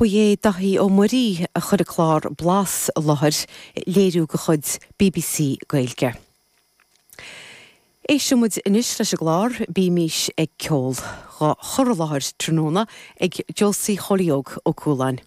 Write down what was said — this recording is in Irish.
Ba é Daithí Ó Muirí a chuir an clár Blas i láthair, léiriú de chuid bbc Gaeilge. Éistfidh muid anois leis an gclár Bímís ag Ceol, dhá chur i láthair tráthnóna ag Josie Chóilí Óg Ó Cualáin.